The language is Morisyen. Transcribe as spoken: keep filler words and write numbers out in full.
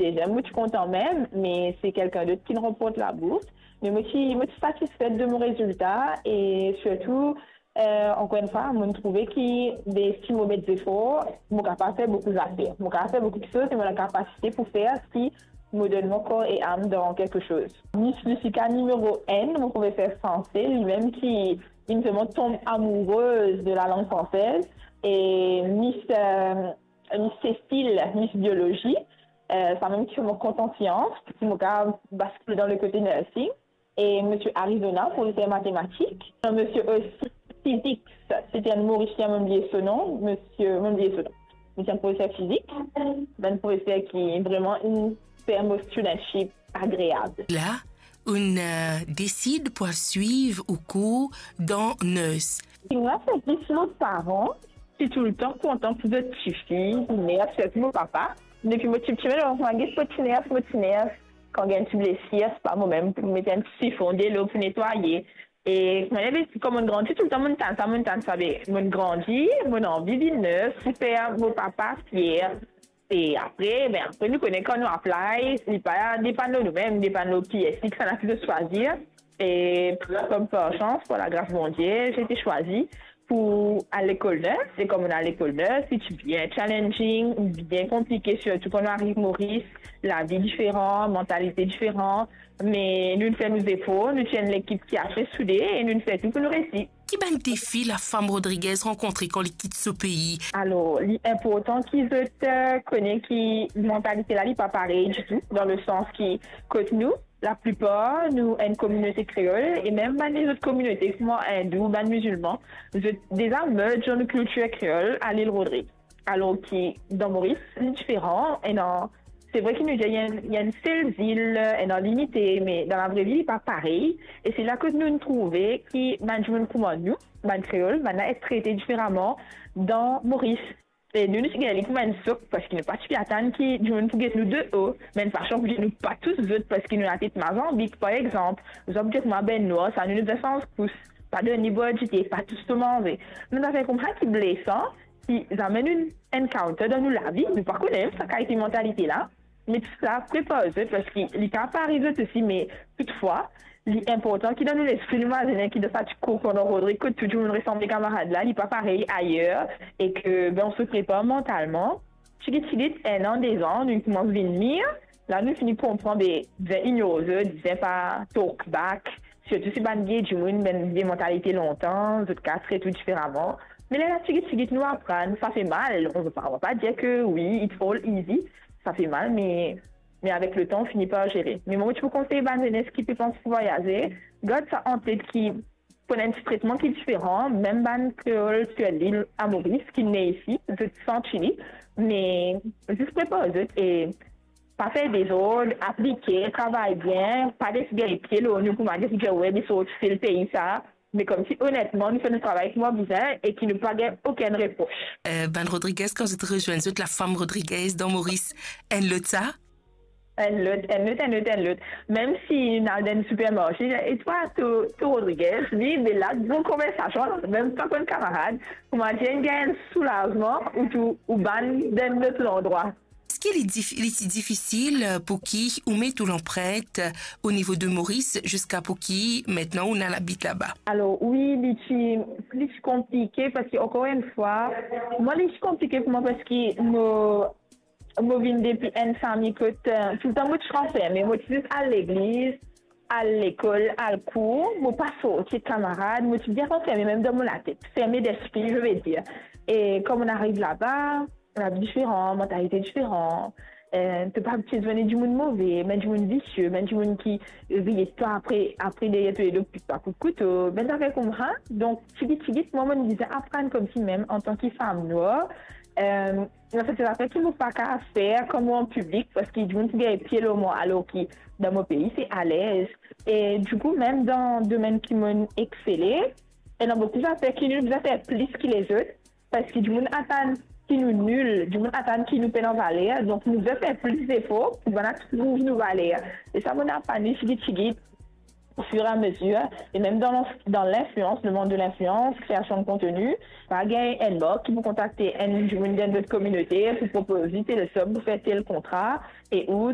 deziem, mo ti kontan mem, me se kelkenn dot ki ranport labours. Me mo ti, mo ti satisfet de mo rezilta e sirtou, eh, ankor enn fwa, mo trouve ki de, si mo met zefor, mo kapav fer boukou zafer. Mo kapav fer boukou kiksoz e mo ena lakapasite pou fer si mo donn mo kor e am dan kiksoz. Miss Lusica nimero enn, mo profeser franse, limem ki, ki inn vreman tonm amourez de lalang fransez. E Miss, eh, Miss Cécile, Miss Biologie, eh, sa mem ki fer mo kontan sians, ki mo kapav baskil dan lekote nursing. E Misie Arizona, profeser matematik. Misie osi fizik, se ti enn Morisien, mo bliye so nom, misie, mo bliye so nom. Misie enn profeser fizik, bann profeser ki vreman inn fer mo studentship agreab. La, ou'nn, eh, desid pou al swiv ou kour dan nurse. Ti ena servis mo paran, ti toultan kontan pou zot tifi, ner, sirtou mo papa. Depi mo tipti, mo ti ner, mo ti ner, kan gagn ti blesir, se pa mo mem pou met enn ti sifon delo pou netwaye. E kouma, kouma mo'nn grandi, toultan mo'nn tann sa, mo'nn tann sa, be mo'nn grandi, mo'nn anvi vinn nurse, pou fer mo papa fier. E apre, be apre, nou kone kan nou apply, li pa depann lor noumem, depann lor ki esi ki sa ena ki swazir. E par, par sans, par lagras Bondie, mo ti swazir pou al lekol nurse. E kouma mo'nn al lekol nurse, li ti bien challenging, bien konplike, sirtou kan nou ariv Moris, lavi diferan, mantalite diferan. Me nou fer nou zefor, nou ti enn lekip ki ase soude e nou fer tou pou nou reysi. Ki bann defi lafam Rodriguez rankontre kan li kit so pei? Alor, li inportan ki zot, eh, kone ki mantalite la, li pa parey ditou, dan lesans ki kot nou, laplipar nou enn kominote kreol, e mem bann lezot kominote, kouma Indou, bann mizilman, zot deza merge dan nou kiltir kreol, a Lil Rodrig. Alor ki dan Moris, li diferan, ena, se vre ki nou dir, ena, ena enn sel zil, ena linite, me dan lavre vi, li pa parey. E se la kot nou trouve ki bann dimoun kouma nou, bann kreol, bann la et trete diferaman dan Moris. E nou, nou ti gagn li kouma enn sok, parski nou pa ti pe atann ki dimoun pou get nou de o, mem fason pou dir nou pa tous zot, parski nou latet Mazanbik, par exanp. Zot pou dir kouma bann nwar, sa nou, nou bizin sanz kous, pa donn li bwar dite, pa tous to manze. Bann zafer koumsa ki blesan, ki zame nou encounter dan nou lavi, nou pa kone sa kalite mantalite la. Me tou sa prepar zot, parski li kapav ariv zot osi, me toutfwa, li inportan ki dan nou lespri nou mazinn ki dan sa ti kour kouma Rodrig, kot tou dimoun resanble kamarad la, li pa parey ayer, e ke, be, nou se prepar mantalman. Tigit tigit, enn an, de zan, nou koumans vinn mir. La nou fini konpran, be, bizin ignor zot, bizin pa talk back. Sirtou si bann vie dimoun, bann vie mantalite lontan, zot kapav tret ou diferaman. Me lerla tigit tigit nou aprann, sa fer mal. On va pa, on va pa dir ke wi, it's all easy. Sa fer mal, me, me avek letan, ou fini par zere. Me mwa, mo ti pou konsey bann zenes ki pe pans pou vwayaze, gard sa an tet ki pou ena enn ti tretman ki diferan, mem bann kreol ki lil a Moris, ki ne isi, zot santi li, me zis prepar zot e pa fer dezord, aplike, travay bien, pa les gagn pie lor nou kouma dir, we, nou sorti tel pei sa, me koumsi onetman, nou fer nou travay kouma bizin e ki nou pa gagn okenn repros. Eh, bann Rodriguez, kan zot rezwenn zot, lafam Rodriguez dan Moris, enn lot sa? Enn lot, enn lot, enn lot, enn lot. Mem si nou al dan supermarse, e twa, to, to Rodriguez, li, be la, bon konversasion, mem pa konn kamarad, kouma dir, gagn soulazman, ou tou, ou bann dan lot landrwa. Eski li dif-, li ti difisil, eh, pou ki ou met ou lanprint, eh, o nivo de Moris, ziska pou ki aster ou ena labit laba? Alor, wi, li ti, li ti konplike, parski, ankor enn fwa, mwa, li ti konplike pou mwa, parski mo, mo vinn depi enn fami kot, eh, toultan mo ti ranferme, mo ti zis al legliz, al lekol, al kour, mo pa sorti ek kamarad, mo ti bien ranferme, mem dan mo latet, ferme d'esprit, je veux dire. E kan mo'nn ariv laba, lavi diferan, mantalite diferan. Eh, to pa abitie zwenn dimoun move, bann dimoun visie, bann dimoun ki riye twa, apre, apre deryer to ledo, pik twa kout kouto, bann zafer koumsa. Donk, tigit tigit, mwa, mo'nn bizin aprann koumsi mem antan ki fam nwar. Eh, ena sertin zafer ki mo pa kapav fer kan mo an piblik, parski dimoun pou gagn pie lor mwa, alor ki dan mo pei, se alez. E dikou, mem dan domenn ki mo'nn exele, ena boukou zafer ki nou bizin fer plis ki lezot, parski dimoun atann ki nou nil, dimoun atann ki nou pena valer, donk nou bizin fer plis zefor pou bann la trouv nou valer. E sa mo'nn aprann li tigit tigit, au fur et à mesure, e mem dan, dan linfluans, le monde de l'influence, création de contenu, pa gagn enn mark ki pou kontakte enn dimoun dan not kominote pou propoz li tel sob pou fer tel kontra, e ou